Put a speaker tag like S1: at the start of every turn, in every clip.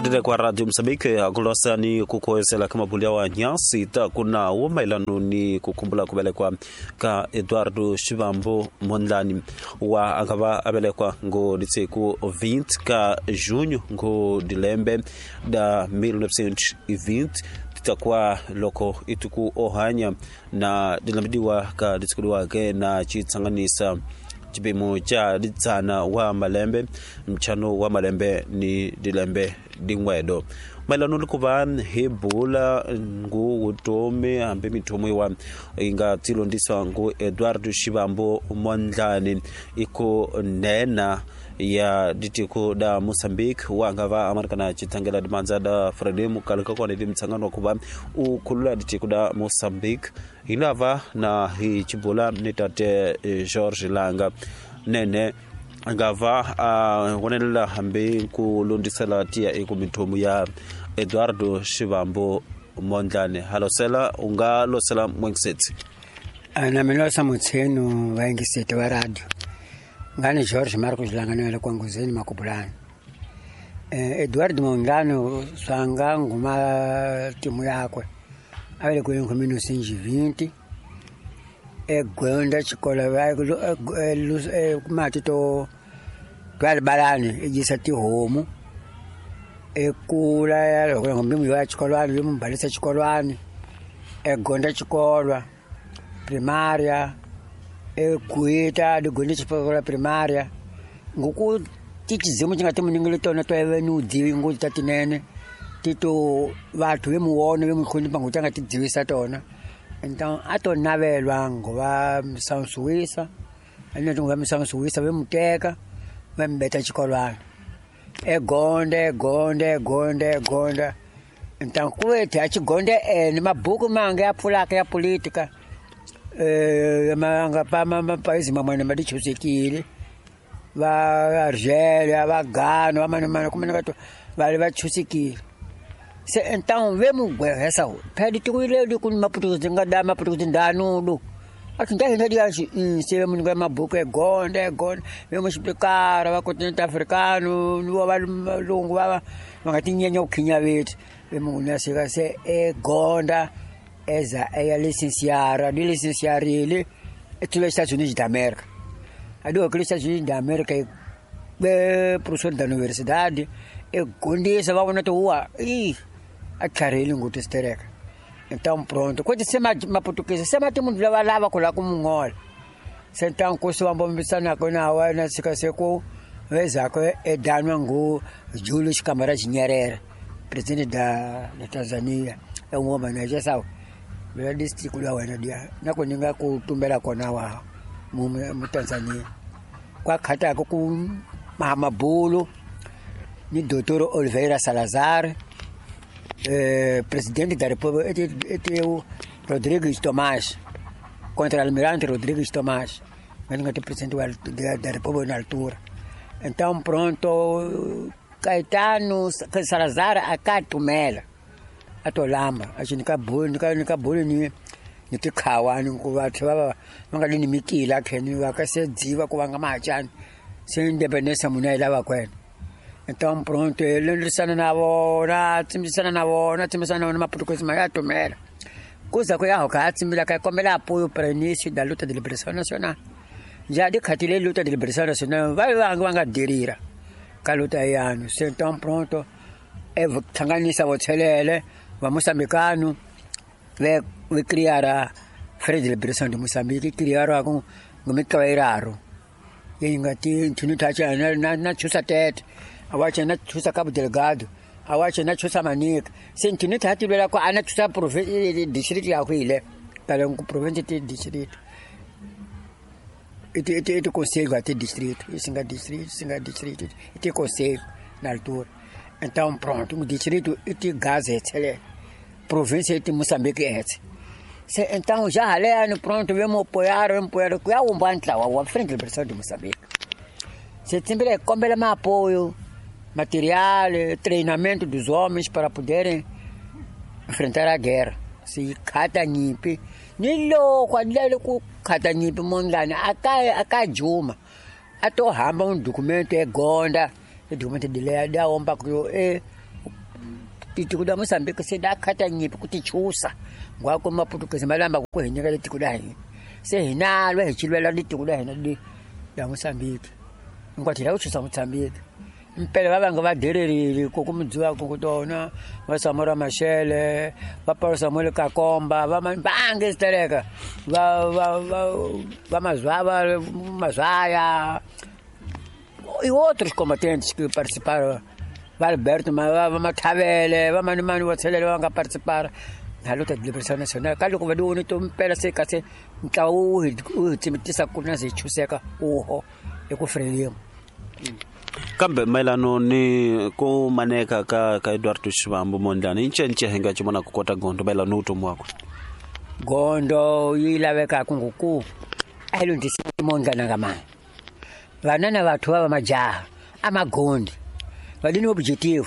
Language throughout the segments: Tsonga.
S1: Kutete kwa Radio Mozambique akulosa ni kukoesela kamabulia wa nyasi ta kuna wo mailano ni kukumbula kubelekwa ka Eduardo Shivambu Mondlane wa angava abelekwa ngo ditsiku 20 ka junho ngo dilembe da 1920 titakuwa loko ituku ohanya na dilambidiwa ka ditsikuliwake na chitsanganisa chipimo cha ditsana wa malembe mchano wa malembe ni dilembe dingwedo maelano ni kuva hi bula ngu vutomi hambi mithomo yiwa yi nga tilondzisa ngu Eduardo Shivambu Mondlane iku nena ya ditiko da Mozambique wa nga va amarikana chitsangela dimandza da Frelimo kale ka kona di mitsangano wa kuva u khulula ditiko da Mozambique hi lava na hi chibula ni tate George Langa nene nga va a vonelela hambi ku londisela tiya eku mithomo ya Eduardo Shivambu Mondlane halosela u nga losela mwengisetsi
S2: na mina losa mutshenu vaingiseti wa radio ngani George Marcos Langa kwanguzeni Makubulani. Eduardo Mondlane swanga nguma timu yakwe avele ku 1920 egonda xikolo mati to twalibalani ejisa tihomu ekula loko ngombimu ya xikolwani yo mbalisa xikolwani egonda xikolwa primaria ekuita digonda xikolwa primaria ngoku tichizimu xi nga timuningile tona to eve ni udzivi ngoti ta tinene tito vathu ve muwona ve muhlonipha ngoti a nga ti dzivisa tona. Então a to navelwa ngova msansuwisa aneti ngova msansuwisa ve muteka ve mbeta xikolwana egonda egonda egonda egonda. Então kuethi a xigonde ene mabuku mange ya pfulaka ya politika manga pa mapaisi mamwana ma dichusekile va Argelia va Ghana va manimani kumene ka vale va chusekile. Se então ve mugwehesa phela tikuile ku maputuzi nga da maputuzi ndanudu athi ndahina diaxi se ve munhu mabhuku egonda egonda ve mu xipikara va continente africano ni va valungu va va nga tinyenya ku khinya vethu ve munhu ya sika se egonda eza eya licenciara di licenciarile etulo Estados Unidos da América adi ko Estados Unidos da América be professor da universidade egondisa va vona ti huwa i a tlharihile ngoti sitereka. Então pronto quando se maputukisa se mati munhu lava lava ku lava ku mungola se então ku se vambombisana na wena sika se ku vezako edanwa ngu Julius Kambarage Nyerere presidente da Tanzania e ngoma na jesa vela district la wena dia na ku ninga ku tumbela kona wa mu Tanzania kwa khata ku Mahamabulu ni Dr. Oliveira Salazar presidente da República Rodrigues Tomás contra Almirante Rodrigues Tomás mas presidente da República na altura. Então pronto Caetano Salazar akatumela atolamba a gente kabulu kabulu ni ni tikhawani ku vathu va va nga ni mikila kheni va ka se dziva ku vanga machani se independência munhu a yi lava kwena. Então pronto ele lwisana na vona tsimbisana na vona tsimbisana na vona maputukuzi ma ya tumela kuza ku ya hoka a tsimbila ka kombela apoio para início da luta de liberação nacional já de khatile luta de liberação nacional vai va nga dirira ka luta yanu. Se então pronto e thanganisa vothelele va moçambicano ve criar Frente de Liberação de Moçambique criaram com ngomikawairaro yingati nthunithacha na chusa tete awacha na chusa Cabo Delgado awacha na chusa Manica se nthunithathi lwela ko ana chusa province district ya khwile kale ku province ti district iti conselho até distrito singa district iti conselho na altura. Então pronto o distrito iti Gaza província iti Moçambique etse. Se então já haleno pronto vemos apoiar ku ya umbantla wa Frente de Liberação de Moçambique. Se sempre kombela ma apoio material, treinamento dos homens para poderem enfrentar a guerra. Se khata nyimpi ni loko adlele ku khata nyimpi Mondlane aka juma a to hamba um documento egonda e documento de lei da omba ku e Tiko la Mozambique se da khata nyipi ku ti chusa ngwako maputukezi malamba ku hi nyika tiko la hina se hina lwa hi chilwela tiko la hina li la Mozambique ngwathi la ku chusa Mozambique mpela va vanga va dererile ku mudziwa ku tona va Samora Machel va Paulo Samuel Kakomba va bange stereka va va va mazwava mazwaya e outros combatentes que participaram, va Alberto va Mathavele va mani mani va tshelele va nga participaram na luta de liberação nacional ka loko va di to mpela se kasi ntlawa wu hi tsimitisa ku na se chuseka uho eku Frelimo.
S1: Kambe mayelano ni ku maneka ka Eduardo Shivambu Mondlane incence hi nga ci vona ku kota gondo mayelano ni vutomi wakwe
S2: gondo yi lavekaka ngoku a hi lundzisi Mondlane nga mani vanana vathu va majaha a magondi va dini objective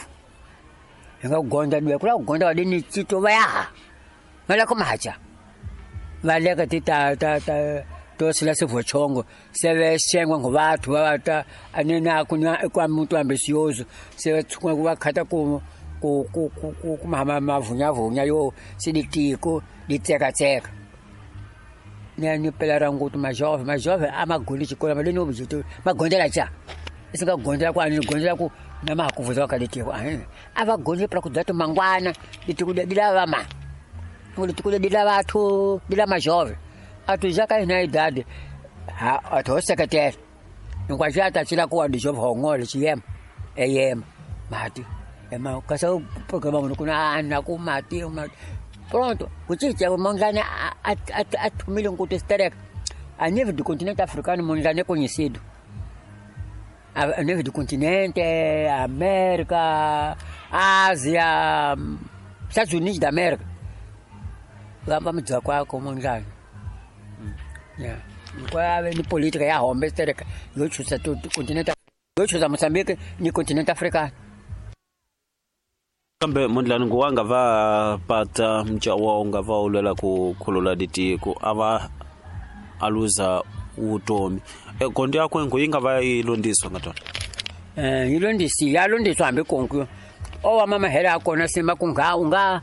S2: hi nga gonda dwe kula gonda va dini tito va ya va la ku macha va leka ti ta ta ta to sila sevochongo seve shengwa ngo vathu va ta anena kunya kwa muntu ambicioso seve tsukwa ku va khata ku ku ku ku ku mama mavunya vunya yo siditiko ditseka tseka ni pela rangutu majove majove amagoli chikola madeni objective magondela cha isinga gondela kwa ni gondela ku na makuvuza wakaditiko ava gondela para kudata mangwana ditiko dila vama ditiko dila vathu dila majove atu já cai na idade a to secretário não quase já tá tira com a de jovem hongol cm em mati é mas casou porque vamos com na com mati pronto o que é o Mondlane a tumile um contexto a nível do continente africano Mondlane é conhecido a nível do continente América Ásia Estados Unidos da América lá vamos dizer qual é o Mondlane. Yeah. Qual é a política ya hombe tereka yo chusa to continente yo chusa Mozambique ni continente africano.
S1: Kambe Mondlane nguwanga va pata mchawa unga va ulela ku khulula ditiko ava aluza utomi gondo yakwe nguyinga va ilondiswa ngatona
S2: ilondisi yalondiswa hambi konke owa mama hela akona sima kunga unga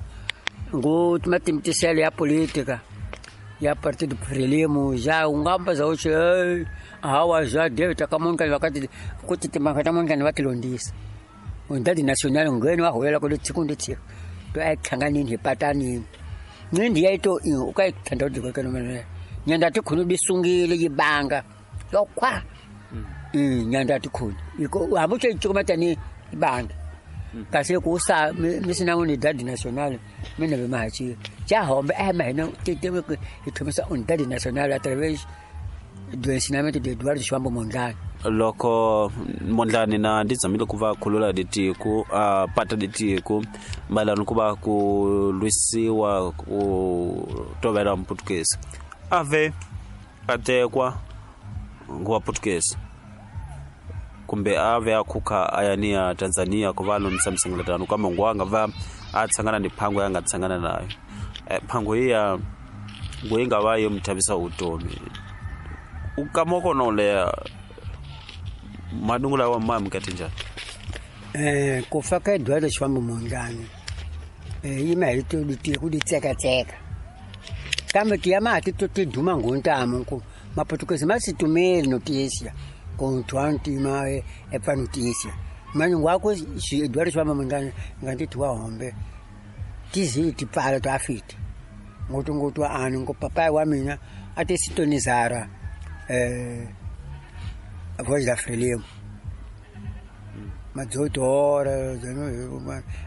S2: ngu timatimtisele ya política ya Partido Frelimo já ungamba za uche hawa já deve takamonka wakati kuti timakata monka vatilondisa undadi national ngeni wa hoela ko tsikundi tsiko to ai thanganini hipatani nindi yaito ukaithanda kuti kwekeno mene nyanda tikhunu bisungile yibanga lokwa nyanda tikhunu iko hamuche chikumatani ibanga kasi kusa misina unidadi national mina bemahachi cha hombe mahina tete ithomisa unidadi national através do ensinamento de Eduardo Shivambu Mondlane
S1: loko Mondlane na ndizamile ku va khulula ditiko a pata ditiko mayelana ku va ku lwisiwa ku tovela mputukezi ave atekwa nguwa Portuguese kumbe ave akhukha ayani ya Tanzania ku va lonisa msengeletano kambe nguwanga va a tshangana ni phango ya nga tshangana nayo phango iya nguyinga va yo mthavisa utomi ukamoko no leya madungula wa mama mkati njani
S2: ku fa ka Eduardo Shivambu Mondlane yima hi to ditiko di tseka tseka kambe ti ya mati to ti duma ngontamo ku maputukezi ma situmeli notícia com twantima é para notícia mas não há coisa Eduardo Shivambu Mondlane ngati tuwa hombe tizi ti para to afite ngoto ngoto ano ngo papai wa mina até sintonizara a voz da Frelimo mas 18 horas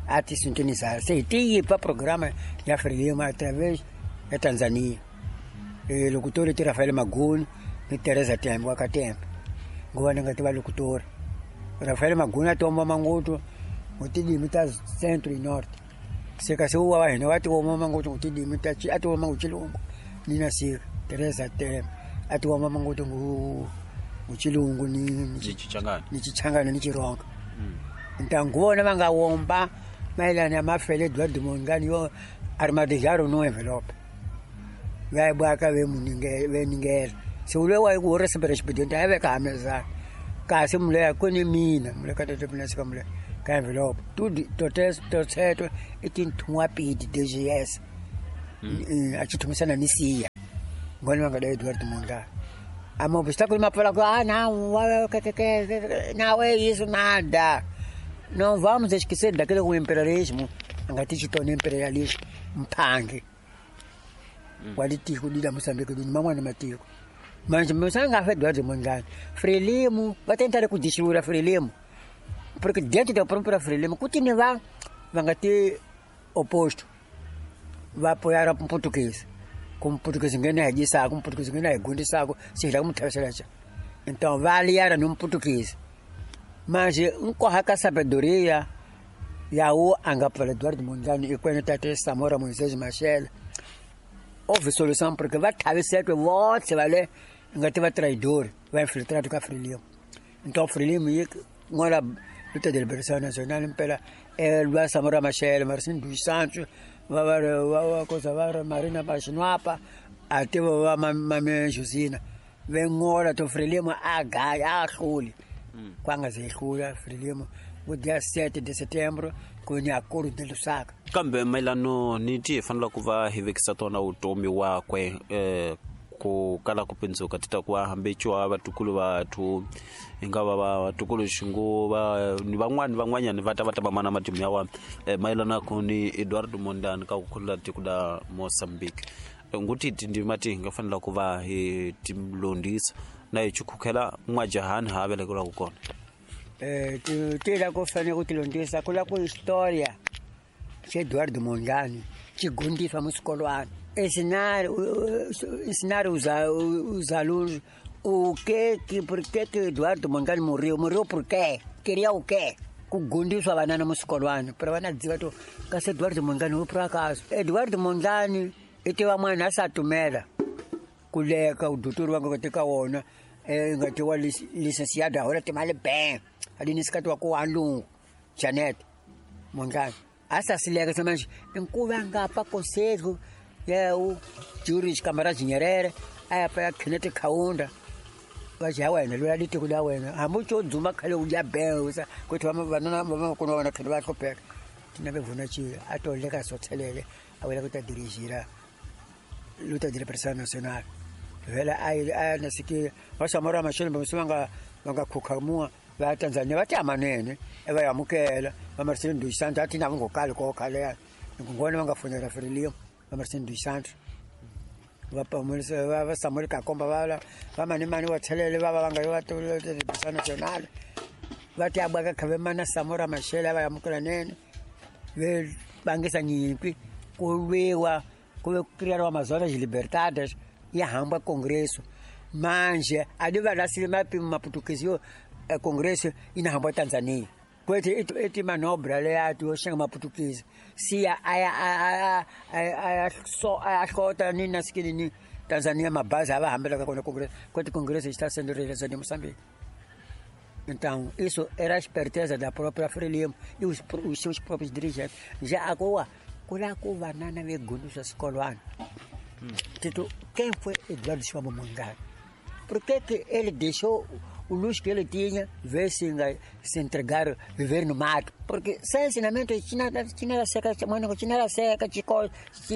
S2: até sintonizar se tinha para programa da Frelimo através da Tanzania e locutor de Rafael Maguni e Teresa Tembo wakatembo ngoba ngati va locutor Rafael Maguni atomba manguto ngotidimi ta centro e norte seka se wa hina wati woma manguto ngotidimi ta atoma nguchilungu nina sika Teresa Tembo atoma manguto ngu nguchilungu ni
S1: chichangana
S2: ni chichangana ni chironga ntangona vangawomba mayelana ya mafele Eduardo Mondlane yo armadilharo no envelope vaibwaka veningela se ule wa ku receber expediente a veka hamezana kasi mule ya kuni mina mule ka tete pina sika mule Ka envelope tudo toteto i tinthun'wapidi DGS a xi thumisana ni siya ngoni va nga da Eduardo Mondlane a obstáculo mapfala ku ah não não é isso nada, não vamos esquecer daquele com o imperialismo anga ti xitona imperialismo mphangi wa litiko lila Moçambique ni man'wana matiko manje musanga fa Eduardo Mondlane Frelimo va tentare ku dixura Frelimo porque dentro da própria Frelimo kutini va nga ti oposto va apoiar português como português ngena hi dyisaka português ngena hi gundisaka se hi la ku mu tlherisela xa então va aliara no português mas nkoha ka sabedoria yawo a nga pfala Eduardo Mondlane i kwene tate Samora Moisés Machel houve solução porque va tlhavisetwe votlhe va le nga ti va traidor va infiltrado ka Frelimo então Frelimo yi n'wana luta de liberação nacional impela lwa Samora Machel Marcinho dos Santos va va va koza va Marina Baxinwapa a tiva va Mame Josina ve ngola to Frelimo a gaya a hluli kwanga ze hlula Frelimo ku dia 7 de setembro ku ni acordo de Lusaka
S1: kambe mayelano ni ti hi fanele ku va hi vekisa tona vutomi wakwe ku kala ku pindzuka ti ta ku va hambeciwa vatukulu vathu hi nga va va vatukulu xinguva ni van'wani van'wanyani va ta va ta va mana matimu ya wa mayelana ku ni Eduardo Mondlane ka ku khulula tiko la Mozambique nguti tindzima ti hi nga fanela ku va hi ti londisa na hi chukhukhela n'wajahani ha velekeriwaka kona
S2: ti la ku fanele ku ti londisa ku la ku historia xa Eduardo Mondlane xi gundiswa musikolwana ensinar os alunos o que que por que que Eduardo Mondlane morreu por quê, queria o quê, ku gundiswa vanana musikolwana para vana dziva to kasi Eduardo Mondlane u por acaso Eduardo Mondlane i tiva mwana a sa tumela ku leka udutori wa nga teka wona nga tiwa licenciado hola timali ben ali nisikati wa ku walungu Janet Mondlane a sa sileka se manje nkuva nga pa conselho ya o Juris Camarades Nyerere a ya pa Kenneth Kaunda va ja wena loyi a litiko la wena hambi u tso dzuma khale u dya ben sa ku thi vanana va kuna vana khale va hlupheka tina ve vuna ci a to leka sothelele a wela ku ta dirigira luta de liberação nacional vela a nasiki va Samora Machel va nga khukhamua va Tanzania va ti amanene va yamukela va Marcelino dos Santos a ti na ngo kale ko khale ya ngona va nga fonela Frelimo va Marcelino dos Santos va pamulisa va Samuel Kakomba va va mani mani wa thelele va va nga va luta de liberação nacional va ti abaka khave mana Samora Machel va yamukela nene ve bangisa nyimpi ku lwiwa ku criaram Amazonas Libertadas e hamba congresso manje ali va lasile maputukezi yo congresso ina hamba Tanzania kwete eti manobra le ya to xanga maputukezi siya aya aya so aya hlota ni na sikini ni Tanzania mabazi ava hambela ka kona congresso kwete congresso está sendo realizado em Moçambique. Então, isso era a esperteza da própria Frelimo e os seus próprios dirigentes. Já agora, kula ku vanana vegundisa xikolwana Tito, quem foi Eduardo Chivambo Mondlane? Por que que ele deixou o luxo que ele tinha, ver se entregar, viver no mato? Porque sem ensinamento, tinha seca, mano, tinha seca, chico,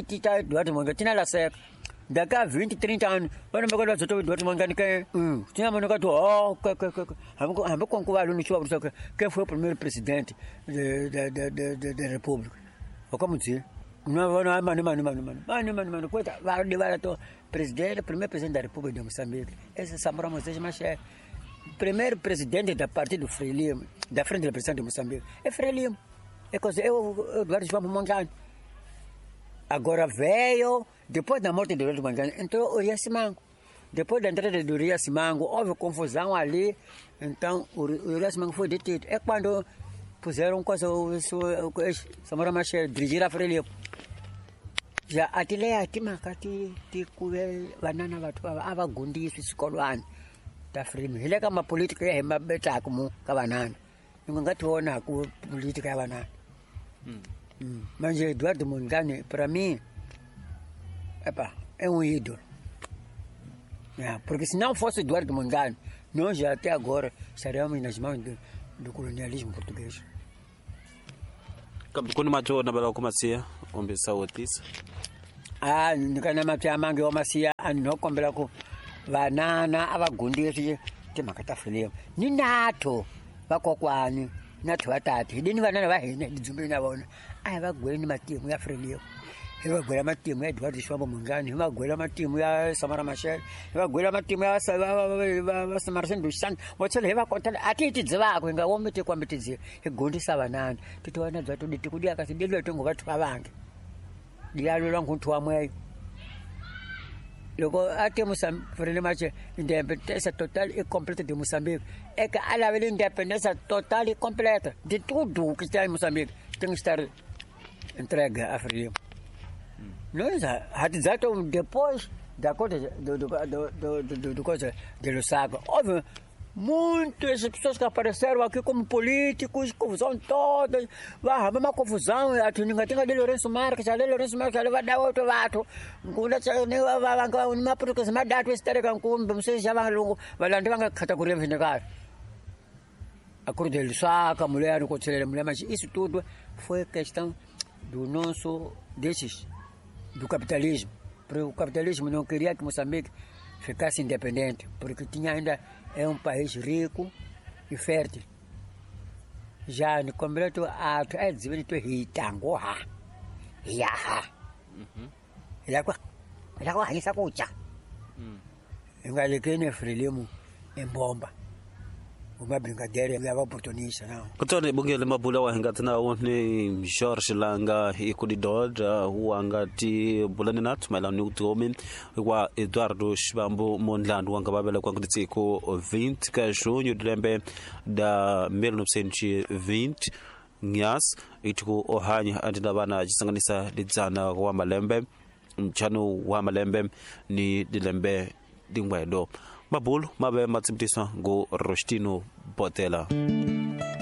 S2: tita Eduardo Mondlane, tinha seca. Daqui a 20, 30 anos, vana makala zoto Eduardo Mondlane quem? Tinha mano que oh, que com o aluno quem foi o primeiro presidente da República? Como dizer? Não, mano, coisa, vai presidente, primeiro presidente da República de Moçambique. Esse é Samora Moisés Machel. Primeiro presidente da Partido Frelimo, da Frente de Libertação de Moçambique. É Frelimo. É coisa, é o Eduardo Chivambo Mondlane. Agora veio, depois da morte do Eduardo Mondlane, entrou o Uria Simango. Depois da entrada do Uria Simango, houve confusão ali. Então, o Uria Simango foi detido. É quando puseram coisa, o Samora Machel dirigir a Frelimo. Já atileia timaka ti kuve vanana vathu a va gundiswi xikolwana ta Frelimo. Hi le ka mapolitika ya hi mabetaka mu ka vanana. Ni nga ti vona ku politika ya vanana. Manje Eduardo Mondlane para mim epa, é um ídolo. É, porque se não fosse Eduardo Mondlane, nós já até agora estaríamos nas mãos do colonialismo português.
S1: Kambe ku ni mati wo navela ku masiya kumbe sawutisa?
S2: A ni ka na mati amange wa masiya, a ni no kombela ku vanana a va gundisi timhaka ta Frelimo ni natho vakokwani natho va tati hi dini vanana va hina hi dzumbeni na vona a hi va gweni matimu ya Frelimo, hi va gwela matimu ya Eduardo Shivambu Mondlane, hi va gwela matimu ya Samora Machel, hi va gwela matimu ya Marcel Duchamp vo tlhela hi va kota a ti hi ti dzivaka hi nga womi tikwambe ti dziva hi gondisa vanana ti ti vana bya tudi tiku diya kasi dilwe tingo va thwa vange diyalwelwa nkunthu wa mweyo loko a te Frelimo ache independência total e completa de Moçambique é que a lavele independência total e completa de tudo o que está em Moçambique tem que estar entregue a Frelimo. Nós hatidzato depois da coisa do coisa de Lusaka. Houve muitas pessoas que apareceram aqui como políticos, confusão toda, vai arrumar uma confusão, a tuninga tinga de Lourenço Marques, a de Lourenço Marques, ali vai dar outro vato, uma porque se dá tu estarega com vocês já vão longo, vai lá vai categoria vinegar. A cor de Lusaka, mulher no conselho, mulher, mas isso tudo foi questão do nosso desses do capitalismo, porque o capitalismo não queria que Moçambique ficasse independente, porque tinha ainda é um país rico e fértil. Já no completo ato é dizer que hitango ha. Ya ha. Ya kwa ya kwa hisa kucha. Ingalekene Frelimo embomba. Uma brincadeira ya oportunista não.
S1: Kutoni bungele mabula wa hingati nawo ni George Langa ikudidoda wangati bulani nathu maelana ni utomi wa Eduardo Shivambu Mondlane wanga vavela kwa 20 ka junho de lembe da 1920 nyas itiku ohanya andina vana cisanganisa lidzana wa malembe nchano wa malembe ni dilembe dingwedo mabulu mabe matsimtiswa ngu Rostino Botela.